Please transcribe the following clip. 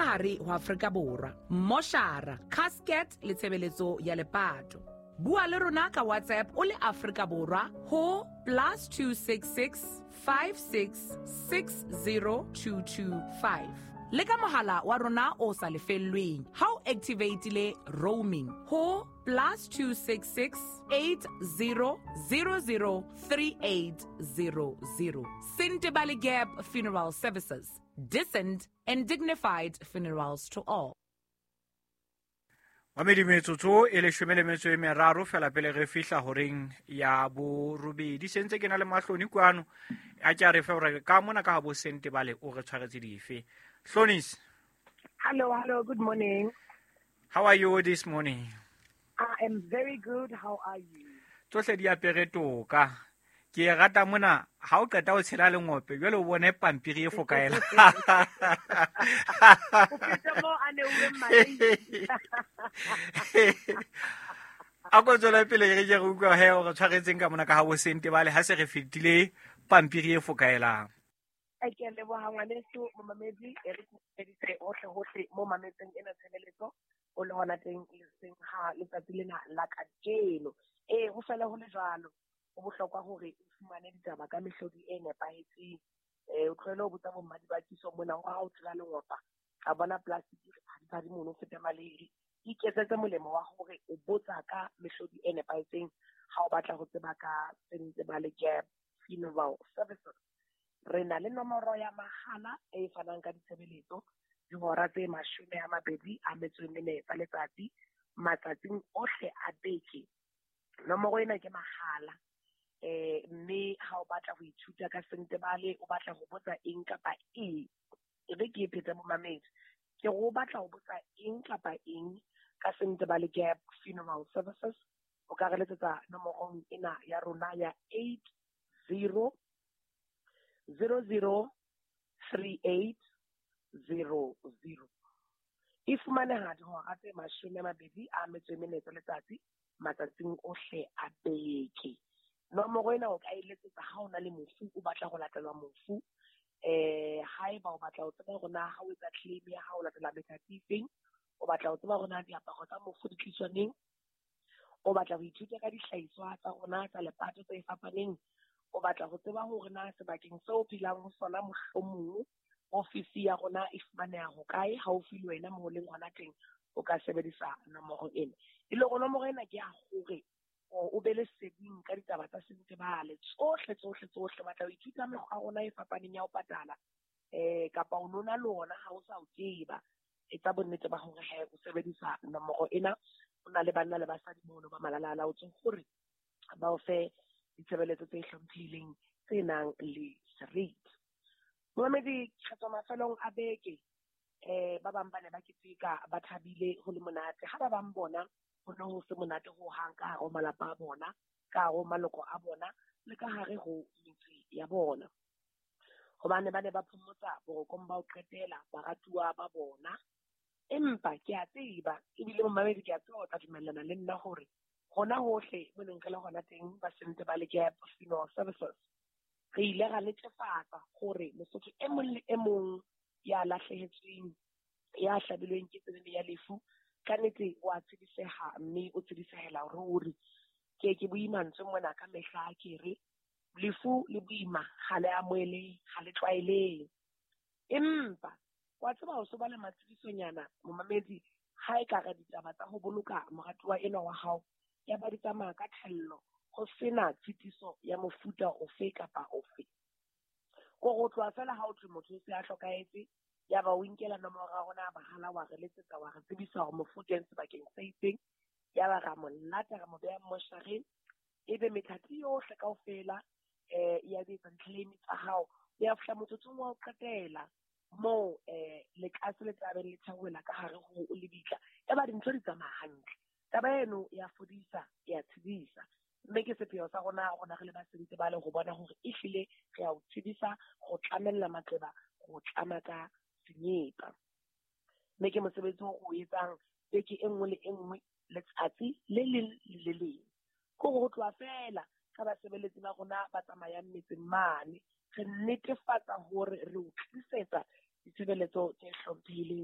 ka hare ho Afrika Borwa. Moshara, casket le tshebeletso ya lepato. Bua le rona ka WhatsApp o le Afrika Borwa ho +266 56 60225. Le ka mohala wa rona o sa lefellweng ha o activatile roaming ho +266 80 00 3800. Sentebale Gap Funeral Services, decent and dignified funerals to all. Mamedi, metsotso e 13 fela pele re fihla horeng ya borobedi. Sentse ke na le Mahloni kwano, a ke a re fe hore ka mona ka ha bo Sentebale o re tshwaretse dife. Hlonis. Hello, hello, good morning. How are you this morning? I am very good. How are you? Tsohle di apere toka. Ke e rata mona ha o qeta ho tshela lengope jwale o bone pampiri e fokaela. O fete mo a neuweng madi. A ko tswele pele re ke re utlwa he o re tshwaretseng ka mona ka ha bo Sentebale ha se re fetile pampiri e fokaelang. Ke a leboha ngwaneso momamedi, e re dumedise hohle hohle mo mametseng ena tshebeletso o le hona teng le seng ha letsatsi lena la kajeno. Ee, ho fela ho le jwalo, ho bohlokwa hore o fumane ditaba ka mehlodi e nepahetseng. O tlohele ho botsa bo mmadibakiso mona hore ha o tshela lengopa ka bona plastic phadiphadi mono o fete maleiri. Iketsetse molemo wa hore o botsa ka mehlodi e nepahetseng ha o batla ho tseba ka Sentebale Gap Funeral Services. Re na le nomoro ya mahala e fanang ka ditshebeletso dihora tse 24 tsa letsatsi matsatsing ohle a beke. Nomoro ena ke mahala. Mme ha o batla ho ithuta ka Sentebale, o batla ho botsa eng kapa eng, e be ke e phetse momamedi, ke re o batla ho botsa eng kapa eng ka Sentebale Gap Funeral Services, o ka re letsetsa nomorong ena ya rona ya 80 00 38 00. E fumaneha dihora tse 24 tsa letsatsi matsatsing ohle a beke. Nomoro ena o ka e letsetsa ha o na le mofu, o batla ho latelwa mofu. Haeba o batla ho tseba hore na ha o etsa claim ya hao o latela methati efeng, o batla ho tseba hore na diaparo tsa mofu di tliswa neng, o batla ho ithuta ka dihlahiswa tsa rona tsa lepato tse fapaneng, o batla ho tseba hore na sebakeng seo o phelang ho sona mohlomong ofisi ya rona e fumaneha hokae haufi le wena moo o leng hona teng, o ka sebedisa nomoro ena. E le hore nomoro ena ke ya hore o be le seding ka ditaba tsa Sentebale tsohle tsohle tsohle. O batla ho ithuta mekgwa ya rona e fapaneng ya ho patala, kapa o nona le ona ha o sa o tseba, etsa bonnete ba hore he o sebedisa nomoro ena. O na le banna le basadi mono ba malala a laotsweng hore ba o fe ditshebeletso tse hlomphehileng tse nang le seriti. Momamedi, re tswa mafelong a beke. Ba bang ba ne ba keteka ba thabile ho le monate, ha ba bang bona ho ne ho se monate ho hang ka hare ho malapa a bona, ka hare ho maloko a bona le ka hare ho metse ya bona, hobane ba ne ba phomotsa borokong ba ho qetela baratuwa ba bona. Empa ke a tseba ebile momamedi ke a tseba o tla dumellana le nna hore hona hohle mo neng re le hona teng ba Sentebale Gap Funeral Services, re ile ra netefatsa hore Mosotho e mong le e mong ya lahlehetsweng, ya hlabilweng ke tsenene ya lefu, ka nnete wa tsediseha mme o tsedisehela ruri. Ke ke bue mantswe mona ka mehla, ke re lefu le boima ha le amohelehe, ha le tlwaelehe. Empa wa tseba ho so ba le matshedisonyana momamedi, ha e ka re ditaba tsa ho boloka moratuwa enwa wa hao ya ba di tsamaya ka thello, ho sena tshitiso ya mofuta ofe kapa ofe. Ko go tloha fela ha o thwe motho o se a hlokahetse, ya ba o inkela nomoro ya rona ya mahala, wa re letsetsa, wa re tsebisa hore mofu o teng sebakeng se itseng, ya ba ra mo lata, ra mo beha moshareng, ebe methati yohle kaofela ya di etsa di-claim tsa hao. Ya fihla motsotsong wa ho qetela moo lekase le tla beng le theohela ka hare ho lebitla, ya ba dintho di tsamaya hantle. Taba eno ya fodisa, ya tshedisa, mme ke sepheo sa rona, rona re le ba Sentebale, ho bona hore ehlile re a o tshedisa, go tlamella maqeba, go tlama ka senyepa. Mme ke mosebetsi o o etsang beke e nngwe le e nngwe, letsatsi le leng le le leng. Ke hore ho tloha fela ka basebeletsi ba rona ba tsamayang metseng mane, re netefatsa hore re o tlisetsa ditshebeletso tse hlomphehileng